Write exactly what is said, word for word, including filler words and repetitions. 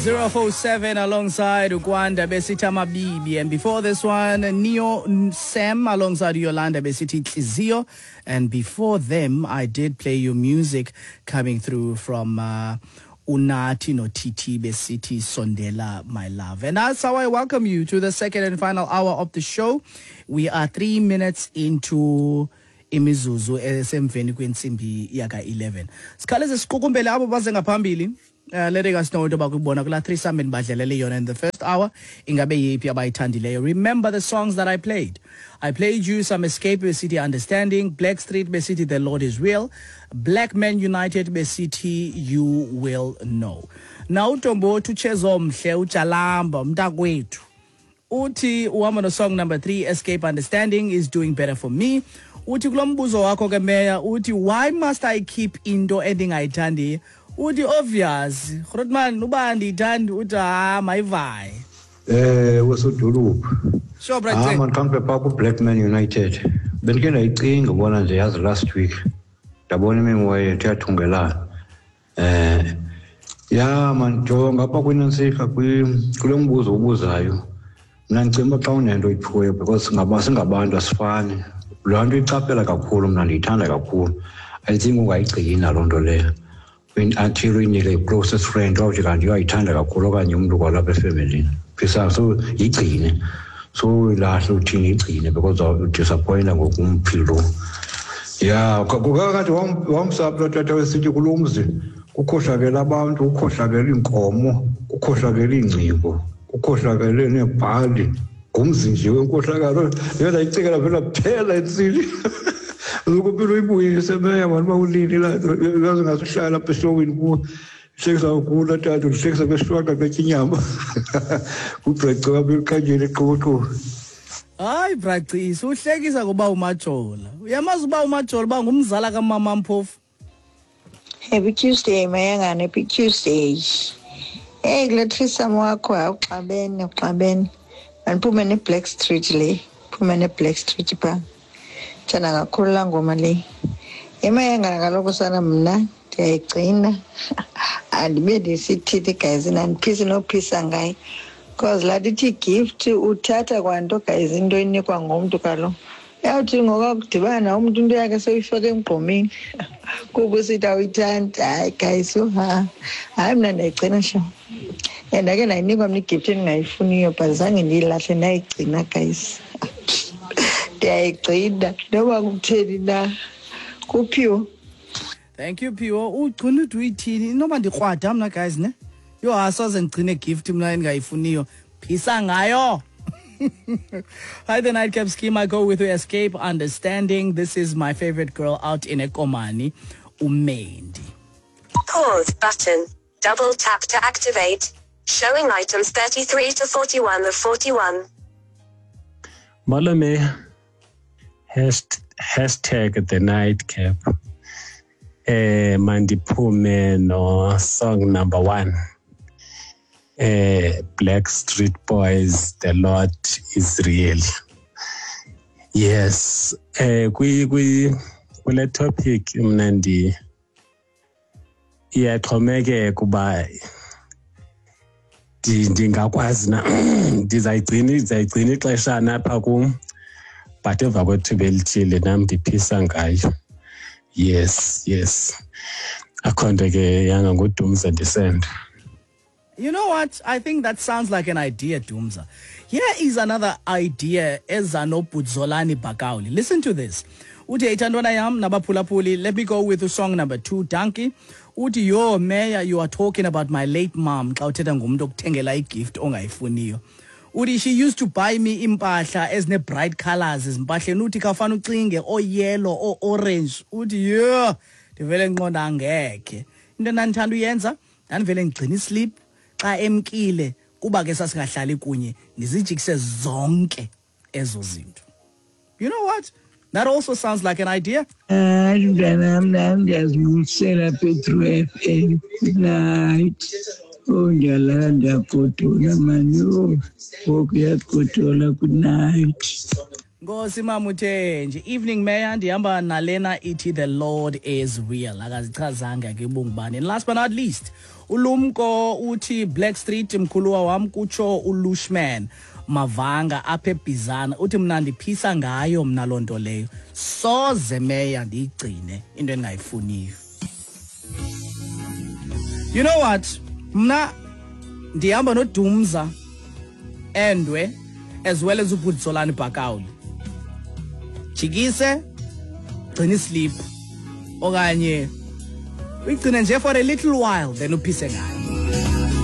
Zero four seven alongside Ukwanda besithi Amabibi, and before this one Neo Sam alongside Yolanda besithi Inhliziyo, and before them I did play your music coming through from uh, Unathi no Titi besithi Sondela My Love. And that's how I welcome you to the second and final hour of the show. We are three minutes into imizuzu esemveni kwentsimbi yaka eleven. Sikhaleze siqukumbele abo baze ngaphambili. Uh, letting us know into yoba kubona kula threesome endibadlalele yona in the first hour ingabe yeyiphi abayithandileyo. Remember the songs that I played. I played you some Escape besithi Understanding, Black Street besithi The Lord is Real, Black Men United besithi You Will Know. Now uNtombothi uChezomhle uJalamba umntakwethu uthi uhamba no song number three, Escape Understanding is doing better for me. Uthi kulo mbuzo wakho ke meya, uthi why must I keep into endingayithandiyo? Uthi obvious, Grootman uba andiyithandi, uthi ha mayivaye. Eh wesodolophu. Sure, Brad. Ah man, kampe pha ku Black Man United. Bendike ndayicinga ubona nje yazi last week. Ndabona imimoya yethu yathungelana. Eh ya man, jonga apha kwinantsika kulo mbuzo ubuzayo. Mna ndicinga uba xa unento oyiphiweyo because singaba singabantu asifani. Loo nto icaphela kakhulu mna ndiyithanda kakhulu. I think ungayigcina loo nto leyo. Until uyinike i-closest friend wawuthi kanti uyayithanda kakhulu okanye umntu kwalapha efemelini. Phisa so yigcine. So uyilahle uthini yigcine because udisappointa ngokumphi lo. Ya kukakade wamsapha tata wesithi kulo mzi kukhohlakele abantu, kukhohlakele iinkomo, kukhohlakele iingcingo, kukhohlakele neebhali. Ngumzi nje wenkohlakalo. Yona ndayicikela phela phela entsini. Ukupilo uyibuyise meya mani uba ulini la yazi ngathi uhlala apha eshowini kuwo. Hlekisa kakhulu tata, uhlekisa kweshwaka kwetya inyama. Kubreca apha ekhanyeni eqoqo. Hayi Bracisi, uhlekisa ngoba uMajola. Uyamazi uba uMajola uba ngumzala kamama Mpofu? Happy Tuesday Mayangane, happy Tuesday. Hey kule threesome wakho awuxabene, uxabene. Mandiphume ne-Black Street le, phume ne-Black Street pha. Thanda kakhulu laa ngoma le. Emayangana kaloku sana mna ndiyayigcina. Andibe ndisithithi guys, andiphisi nophisa ngayo. Because laa nto ithi gift uthatha kwanto guys, into enikwa ngumntu kaloku. Uyawuthi ngokakudibana umntu into yakhe seyifake emgqomeni kuba usithi awuyithandi. Hayi guys, yho ha. Hayi mna ndiyayigcina sho. And ndake ndayinikwa mna igift endingayifuniyo but zange ndiyilahle, ndayigcina guys. Ndiyayigcina noba kutheni na. Kuphiwo. Thank you Phiwo. Ugcina ude uyithini inoba ndikrwada mna guys ne. Yho asoze ndigcine gift mna endingayifuniyo. Phisa ngayo. Hi, the Nightcap Scheme. I go with Escape Understanding. This is my favorite girl out in Ekomani, Umendi. Pause button. Double tap to activate. Showing items thirty-three to forty-one of forty-one. Malome, hashtag the Nightcap. Eh, mandiphume no song number one. Eh, Black Street Boys, The Lord is Real. Yes, eh, kwi kwi kule topic mna ndi iyaxhomekeka uba ndingakwazi na ndizayigcina ndizayigcina ixeshana apha kum, but emva kwethuba elithile nam ndiphisa ngayo. Yes, yes. Akho nto ke yanga nguDumza ndisenda. You know what? I think that sounds like an idea, Dumza. Here is another idea, Ezanobudzolani Bakauli. Listen to this. Uthi ithandwana yam nabaphulaphuli, let me go with the song number two, Donkey. Uthi yo mayor, you are talking about my late mom. Xa uthetha ngumntu okuthengela igift ongayifuniyo. Uthi she used to buy me impahla ezine bright colors ezimpahleni. Uthi khawufana ucinge o yellow o orange. Uthi yeah, ndivele nqonda angekhe. Into endandithanda uyenza, ndandivele ndigcina islip. Xa emkile kuba ke sasingahlali kunye, ndizijikise zonke ezo zinto. You know what? That also sounds like an idea. Hayi mntanam, nam ndiyazibulisela Petro F M. Good night. Oh, ndiyalala ndiyagodola mani. Oh, ngoku uyagodola. Good night. Nkosi Mamuthenji. Evening Mayor, ndihamba nalena ithi The Lord is Real. Akazichazanga ke ubungubani. And last but not least, Ulumko uthi Black Street mkhuluwa wam, kutsho uLushman Mavanga apha eBhizana. Uthi mna ndiphisa ngayo mna loo nto leyo, soze meya ndiyigcine into endingayifuniyo. You know what, mna ndihamba noDumza Endwe as well as uButsolani Bhakawuli. Jikise, gcina islip okanye uyigcine nje for a little while, then uphise ngayo.